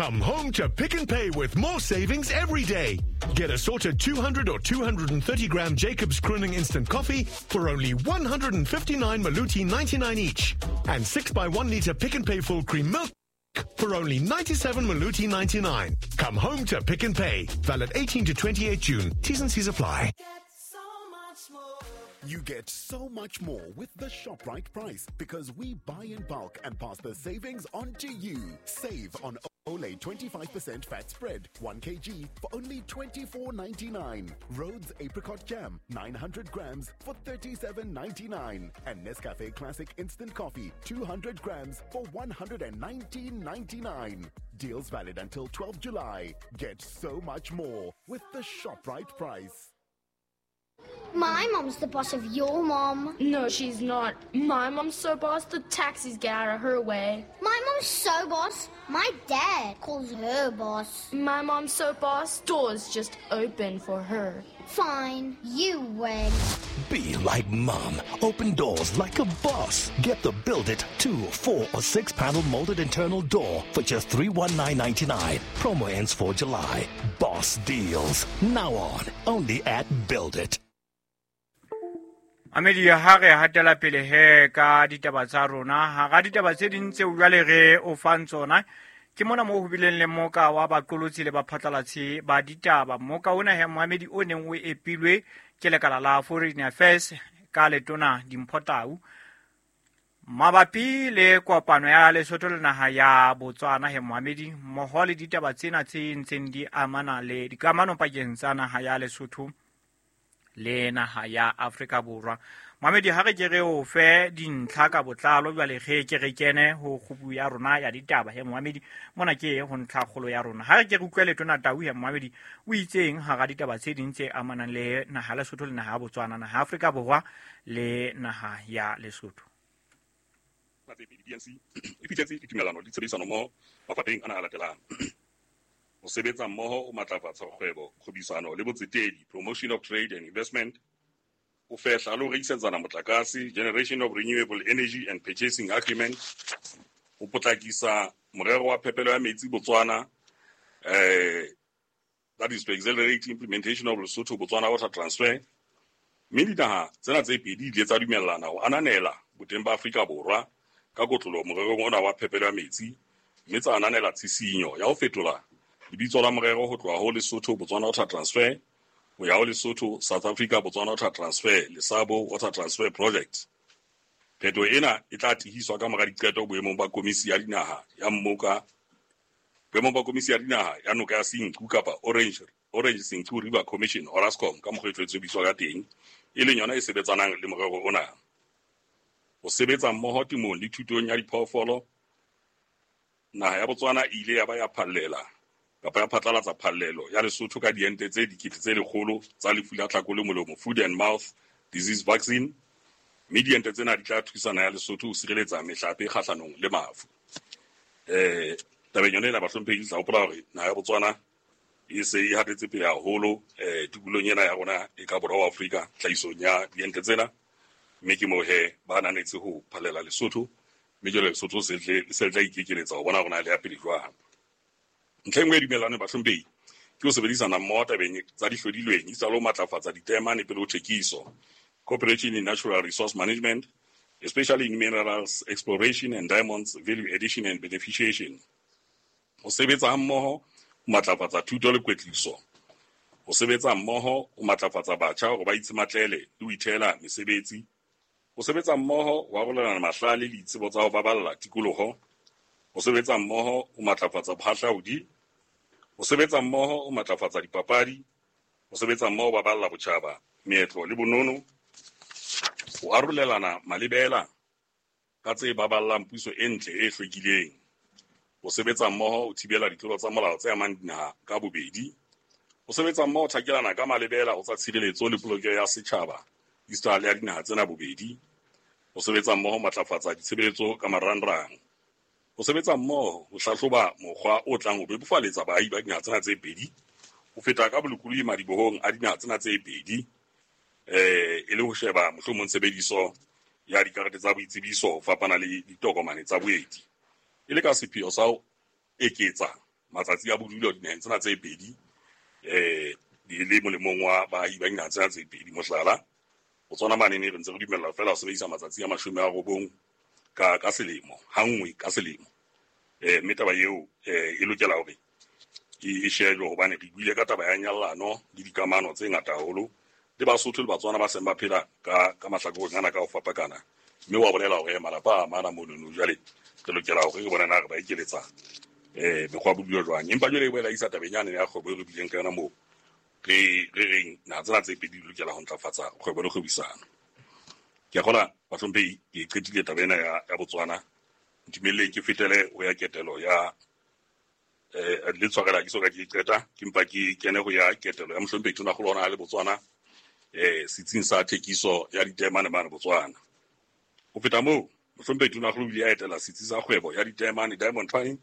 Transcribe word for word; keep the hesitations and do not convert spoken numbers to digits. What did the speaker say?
Come home to Pick n Pay with more savings every day. Get assorted two hundred or two hundred thirty gram Jacobs Crooning Instant Coffee for only one hundred fifty-nine Maluti ninety-nine each. And six by one litre Pick n Pay full cream milk for only ninety-seven Maluti ninety-nine. Come home to Pick n Pay. Valid eighteen to twenty-eight June. T's and C's apply. You get so much more with the ShopRite price because we buy in bulk and pass the savings on to you. Save on Olay twenty-five percent fat spread, one kilogram for only twenty-four ninety-nine. Rhodes Apricot Jam, nine hundred grams for thirty-seven ninety-nine. And Nescafe Classic Instant Coffee, two hundred grams for one hundred nineteen ninety-nine. Deals valid until twelfth July. Get so much more with the ShopRite price. My mom's the boss of your mom. No, she's not. My mom's so boss, the taxis get out of her way. My mom's so boss, my dad calls her boss. My mom's so boss, doors just open for her. Fine, you win. Be like mom. Open doors like a boss. Get the Build It two, four, or six panel molded internal door for just three one nine ninety-nine. Promo ends for July. Boss deals. Now on. Only at Build It. Amedi ha re hatela pele he ka ditaba tsa rona ha ga ditaba tse ding tseo jwale re o fang tsona ke mona mo ho bileng le moka wa baqolotsi le baphatlalatsi ba ditaba. Moka ona he Mohamedi o neng o epilwe ke lekala la Foreign Affairs ka letona Dimpho Tau mabapi le kopano ya Lesotho le naha ya Botswana he Mohamedi mmoho le ditaba tsena tse ntseng di amana le dikamano pakeng tsa naha ya Lesotho le naha ya Afrika Borwa. Mohamedi ha re ke re o fe dintlha ka botlalo jwale ge ke re kene ho kgubu ya rona ya ditaba he Mohamedi mona ke ho ntlha kgolo ya rona. Ha re ke re utlwe letona Tau he Mohamedi o itseng hara ditaba tse ding tse amanang le naha ya Lesotho le naha ya Botswana, naha ya Afrika Borwa le naha ya Lesotho. D N C e fihletse ditumellano le tshebedisano mmoho mafapheng ana a latelang. Ho sebetsa mmoho ho matlafatsa kgwebo, kgwebisano le botsetedi, promotion of trade and investment, ho fehla le ho rekisetsana motlakase, generation of renewable energy and purchasing agreement, ho potlakisa morero wa phepelo ya metsi Botswana, eh, that is to accelerate implementation of Lesotho Botswana water transfer. Mme dinaha tsena tse pedi di ile tsa dumellana ho ananela boteng ba Afrika Borwa ka kotloloho morerong ona wa phepelo ya metsi, mme tsa ananela tshisinyo ya ho fetola lebitso la morero ho tloha ho Lesotho Botswana Water Transfer ho ya ho Lesotho South Africa Botswana Water Transfer Lesabo Water Transfer Project. Phetoho ena e tla tihiswa ka mora diqeto boemong ba komisi ya dinaha ya mmoka boemong ba komisi ya dinaha ya noka ya Senqu kapa Orange Orange Senqu River Commission Orascom ka mokgwa e tlwaetswe bitswa ka teng, e leng yona e sebetsanang le morero ona. Ho sebetsa mmoho temong le thutong ya diphoofolo, naha ya Botswana e ile ya ba ya phallela kapa ya phatlalatsa phallelo ya Lesotho ka diente tse dikete tse lekgolo tsa lefu la tlhako le molomo, food and mouth disease vaccine, mme diente tsena di tla thusa naha ya Lesotho ho sireletsa mehlape kgahlanong le mafu. Eh, tabeng yona ena bahlomphehi, ke tla hopola hore naha ya Botswana e se e hatetse pele haholo eh tikolong ena ya rona e ka borwa wa Afrika tlhahisong ya diente tsena, mme ke moo he ba ananetse ho phallela Lesotho, mme jwale Lesotho se tle se tla ikekeletsa ho bona hore na le ya pele jwang. Ntlha e nngwe e dumellanweng bahlomphehi ke ho sebedisana mmoho tabeng tsa dihlodilweng esita le ho matlafatsa ditemane pele ho thekiso, cooperation in natural resource management, especially in minerals exploration and diamonds value addition and beneficiation. Ho sebetsa hammoho ho matlafatsa thuto le kwetliso. Ho sebetsa mmoho ho matlafatsa batjha hore ba itshematlele le ho ithehela mesebetsi. Ho sebetsa mmoho ho arolelana mahlale le ditsebo tsa ho baballa tikoloho. Ho sebetsa mmoho ho matlafatsa bohahlaudi. Ho sebetsa mmoho ho matlafatsa dipapadi. Ho sebetsa mmoho ho baballa botjhaba, meetlo le bonono. Ho arolelana malebela ka tse baballang puso e ntle e hlwekileng. Ho sebetsa mmoho ho thibela ditlolo tsa molao tse amang dinaha ka bobedi. Ho sebetsa mmoho ho thakelana ka malebela ho tsa tshireletso le polokeho ya setjhaba esita le ya dinaha tsena bobedi. Ho sebetsa mmoho ho matlafatsa ditshebeletso ka marangrang. Ho sebetsa mmoho ho hlahloba mokgwa o tlang ho bebofaletsa baahi ba dinaha tsena tse pedi ho feta ka bolokolohi madibohong a dinaha tsena tse pedi, eh e le ho sheba mohlomong tshebediso ya dikarete tsa boitsebiso ho fapana le ditokomane tsa boeti, e le ka sepheo sa ho eketsa matsatsi a bodulo dinaheng tsena tse pedi eh di le molemong wa baahi ba dinaha tsena tse pedi. Mohlala, Botswana mane ne re ntse re dumella feela ho sebedisa matsatsi a mashome a robong ka ka selemo, hanngwe ka selemo. Eh mme taba eo eh e lokela hore e shejwe hobane re buile ka taba ya nyallano le dikamano tse ngata haholo le Basotho le Batswana ba seng ba phela ka ka mahlakoreng ana ka ho fapakana, mme wa bolela hore malapa a amana monono. Jwale re lokela hore re bone na re ba ekeletsa eh mekgwa ya bodulo jwang. Empa jwale e boela isa tabeng yane ya kgwebo e re bileng ka yona moo re re reng naha tsena tse pedi di lokela ho ntlafatsa kgwebo le kgwebisano. Ke a kgolwa bahlomphehi ke qetile taba ena ya ya Botswana. Ntumelleng ke fetele ho ya ketelo ya eh le tshwarela ke soka ke qeta, ke mpa ke kene ho ya ketelo ya mohlomphehi Tonakgolo hona le Botswana eh setsing sa thekiso ya ditaemane mane Botswana. Ho feta moo, mohlomphehi Tonakgolo o ile a etela setsi sa kgwebo ya ditaemane Diamond Panning